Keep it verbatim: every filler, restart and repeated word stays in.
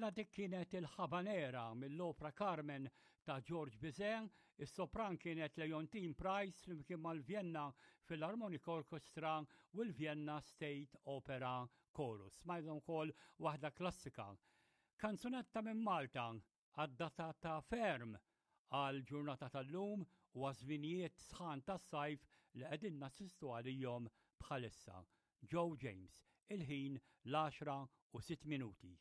Mela dik kienet il-Habanera mill-opra Carmen ta' George Bizet, is-sopran kienet Leontine Price flimkien mal-Vienna Philharmonic Orchestra u l-Vienna State Opera Chorus. Smajna wkoll waħda klassika. Kanzunetta minn Malta adattata ferm għal ġurnata tal-lum u għaż-żminijiet sħan tas-sajf li qegħdin nassistu għalihom bħalissa. Joe James, il-ħin l-għaxra u sitt minuti.